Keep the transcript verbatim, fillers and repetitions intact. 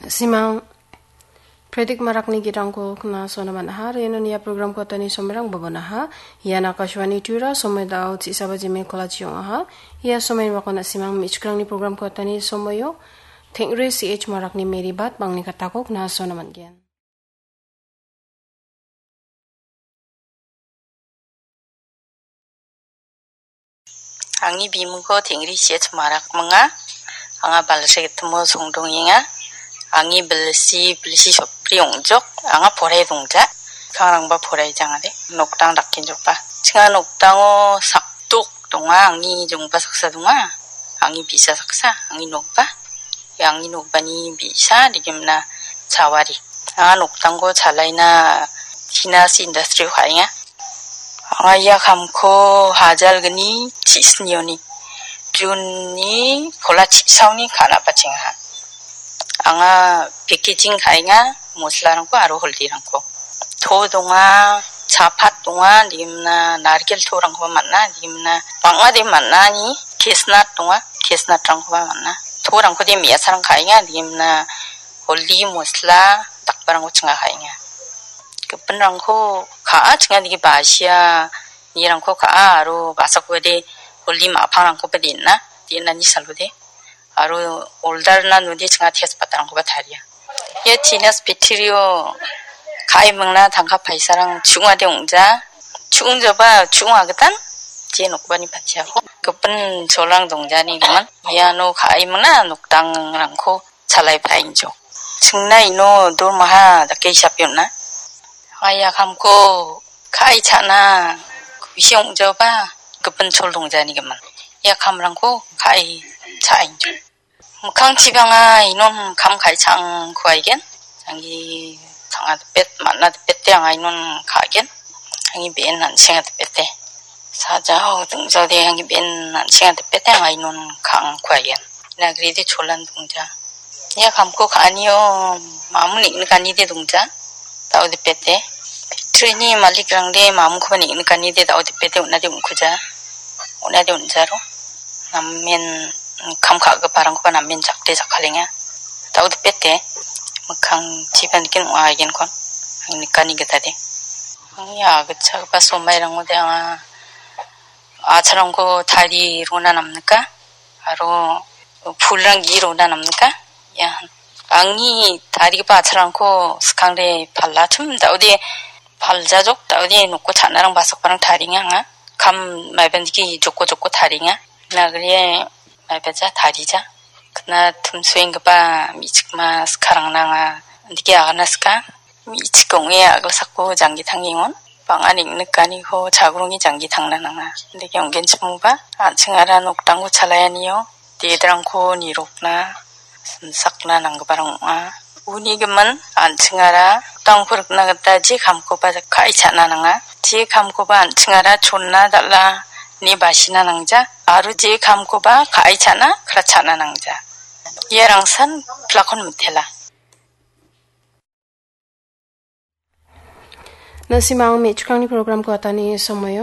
Simang Predik Marakni gitrangko kna sona man·aha. Aro iano nia program kotani somerang bobonaha. Ian Akashvani Tura somoi dao chisaba jime kolachi ong·aha. Ia somoi wako na·simang me·chikrangni program kotani somoio Tengri C H Marakni Meribat bangni katako kna sona man·gen. Angni bimungko Tengri C H Marak minga. Anga balsegitimo songdongenga. Angni bilsi, bilsi sopri ong·jok. Anga porai dongja. Kangrangba porai jangade. Noktang dakenjokba. Chinga noktango sakdok donga. Angni jongba saksa donga. Angni bi·sa saksa. Angni nokba. Ia angni nokbani bi·sa digimna chawari. Anga noktangko chalaina tina si industry-o ka·enga. Anga ia kamko hajalgni chisnioni June-ni pola chisaoni ka·na bachengaha. Anga packaging ka·enga, moslarangko aro holdirangko. To donga, chapat donga, digimna narikel torangkoba man·a, digimna bang·a de man·a ni, kesnat donga, kesnatrangkoba man·a. Torangko de me·asarang ka·enga, digimna holdi, mosla, dakbarangko chinga ka·enga. Gipinrangko ka·a, chinga digi basia, nirangko ka·a, aro basakode holdi ma·pangrangkoba den·a, den·ani salode. Aro oldarna node chinga tejpatarangkoba taria. Ia tinas pittirio ka·e mingna tangka paisarang chu·ungade ong·ja. Chu·ungjaba chu·ungagitan je nokbani patiako gipin cholrang dongjani gimin. Iano ka·e mingna nokdangrangko chalai paengjok. Chingna ino dormaha dake hisape on·a. Ia kamko ka·e cha·na kusi ong·jaba gipin chol dongjani gimin. Ia kamrangko ka·e cha·engjok. Mikkangchibang anga inon kam ka·e cha·angko aigen. Angni tanga dipet, man·a dipete anga inon ka·gen. Angni be·en an·senga dipete. Sajao dingjaode angni be·en an·senga dipete anga inon ka·angko aigen. Ina agrede cholan dongja. Ia kamko ka·anio mamun neng·nikanide dongja. Dao dipete. Factory-ni malikrangde mamunkoba neng·nikanide dao dipete on·ade on·kuja. On·ade on·jaro. Namen kam ka·giparangkoba namen jakde jakkalenga. Dao dipete. Mikkangchiba niken ong·a aigenkon. Ang nikani gitade. Angni agitchakgipa somairangode anga a·chalrangko tarie rona namnika. Aro pulrang gi·e rona namnika. Ia, angni tarigipa a·chalrangko skangde palachim, dao·de paljajok, dao·de noko cha·narang basakparang tarienga anga. Kam maibandiki joko joko tarienga. Nagrie maibaja tarija. Kna timsoenggipa me·chikma skarangna anga indike agana ska. Me·chik ong·e a·gilsako janggi tangengon. Bang·a neng·nikaniko chagrongni janggi tangna nanga. Indike ong·genchimongba, an·chingara nokdangko chalaianio, dedrangko nirokna, simsakna nanggiparang ong·a. Uni gimin, an·chingara nokdangko rikna gita je kamkoba ka·e cha·na nanga. Je kamkoba an·chingara chonna dal·a ine basina nangja, aro je kamkoba ka·e cha·na, kra cha·na nangja. Ia rangsan pilakon mitela. Na·simang me·chikrangni programko atani somoio.